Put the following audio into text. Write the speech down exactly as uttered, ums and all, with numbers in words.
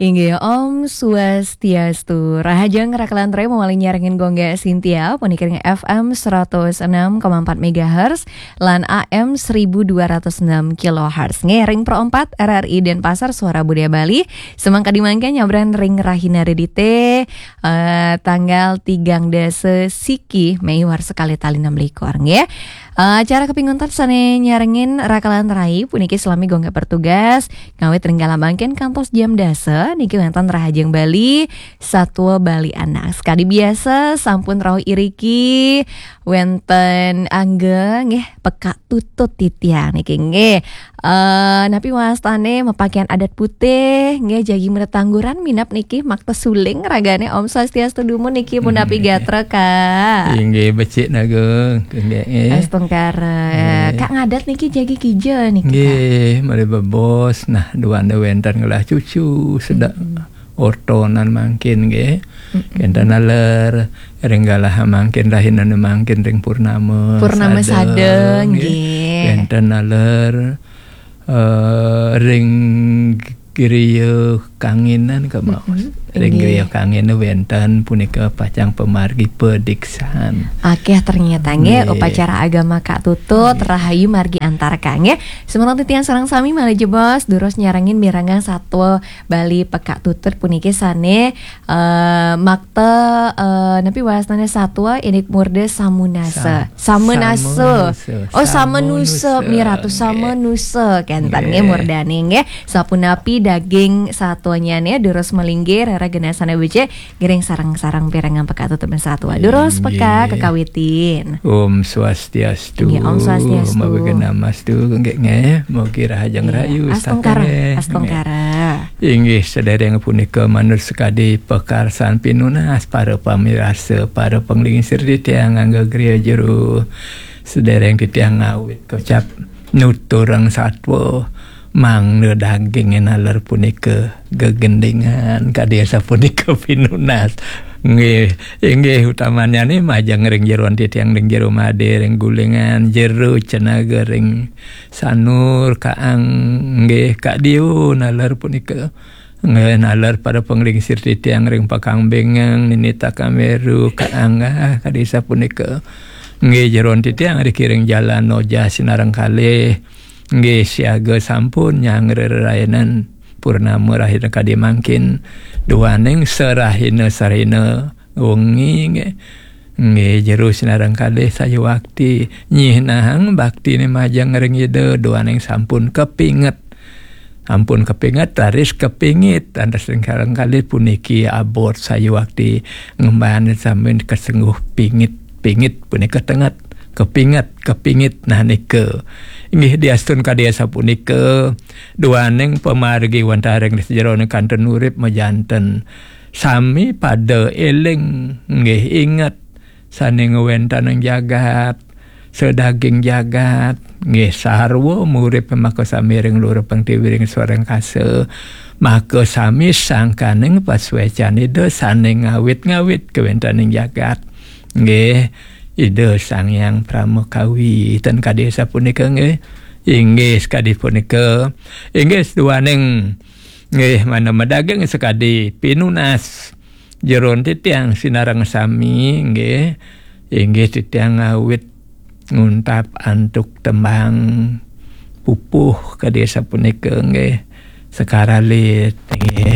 Inggih, Om Swastiastu. Rahajeng rakalan rai, mawali nyarengin Gongga Sintia, puniki ring F M seratus enam koma empat megahertz lan A M seribu dua ratus enam kilohertz. Nggih, ring Pro empat R R I Denpasar, Suara Budaya Bali. Semangkadi mangkin nyabran ring rahina Redite, eh, tanggal tigang dasa siki Mei warsa kalih tali enam likur, nggih. Eh, acara kaping untat sane nyarengin rakalan rai puniki salami Gongga bertugas, ngawit ring galah mangkin kantos jam dasa niki wenten Rahajeng Bali, Satwa Bali Anak. Sakadi biasa sampun rauh iriki wenten angga nggih, pekak tutut titiang niki nggih. Eh, napi wastane mapakean adat putih nggih, jagi mreta angguran minab niki makta suling ragane. Om Swastiastu dumun niki, punapi gatra, Kak? Inggih, becik naga. Inggih, nggih. Astungkara. Nggih. Kak ngadat niki jagi kija niki, Kak? Nggih, malih bebos. Nah, duane wenten ngelah cucu, sedek ortonan mangkin nggih. Wenten naler ring galah mangkin, rahinane mangkin ring purnama. Purnama sada, sada, nggih. Nggih. Wenten naler, eh, ring griya kanginan, kemaos. Ring griya kangina wenten punika pacang pamargi padiksan. Akeh ternyata nggih, nggih, upacara agama Kak Tutut, nggih, rahayu margi antar Kak nggih. Semeton titiang sareng sami malih jebos, durus nyarengin mirengang Satwa Bali Pekak Tutut puniki sane, eh, makta, eh, napi wastane satwa indik murda samunasa. Sa-, Samanasa. Samanasa. Oh, samanusa, samanusa, miratu, nggih, samanusa. Kenten nggih, nggih, murdane nggih. Sapunapi daging satwanyane durus malinggih, reregenasane becik, ngiring sareng-sareng pirengang Pekak Tutut satwa. Durus Pekak, inggih, kakawitin. Om Swastiastu. Inggih, Om Swastiastu. Mabegenamastu, nggih, nggih. Mugi rahajeng, iya, rahayu, astungkara, satané, astungkara, nggih. Inggih, sedereng punika manut sakadi pakarsan pinunas para pamirsa, para panglingsir titiang angga griya jero. Sedereng titiang ngawit kocap nuturang satwa, mangda dagingé naler punika gegendingan, kadi asapunika pinunas. Nggih, inggih, utamanyane majeng ring jeroan titiang, ring jero Made, ring Gulingan, jero Cenaga, ring Sanur, Kaang, nggih, Kak Dio naler punika. Nggih, naler para panglingsir titiang ring Pakambingeng, Ninita Kameru, Kaang, ah, kadi sapunika. Nggih, jeroan titiang riki ring Jalan Noja sinareng kalih. Nggih, siaga sampun nyanggra rerayanan purnama rahina kadi mangkin. Duaning sarahina-sarahina wengi, nggih. Nggih, jero sinareng kalih sayuwakti nyihnahang baktine majeng ring Ida, duaning sampun kapinget. Ampun kapinget, raris kapingit. Antos ring sareng kalih puniki abot sayuwakti ngemban sami kasengguh pingit. Pingit punika tenget. Kapinget, kapingit. Nah, nika. Inggih, diastun kadi asapunika, duaning pamargi wantah ring sajeroning kantun urip majanten. Sami pada eling, nggih, inget, sane ngwentenang jagat, sadaging jagat, nggih, sarwa murip maka sami ring luhur pang tiwi ring swarangkasa, maka sami sangkaning pasuecan Ida sane ngawit-ngawit kawentening jagat. Nggih, Ida Sang Hyang Pramakawi, ten kadi sapunika, nggih. Inggih, sakadi punika. Inggih, seduaning, nggih, mangda madaging sakadi pinunas jeroan titiang sinareng sami, nggih. Inggih, titiang ngawit nguntap antuk tembang pupuh kadi sapunika, nggih. Sekar alit, nggih.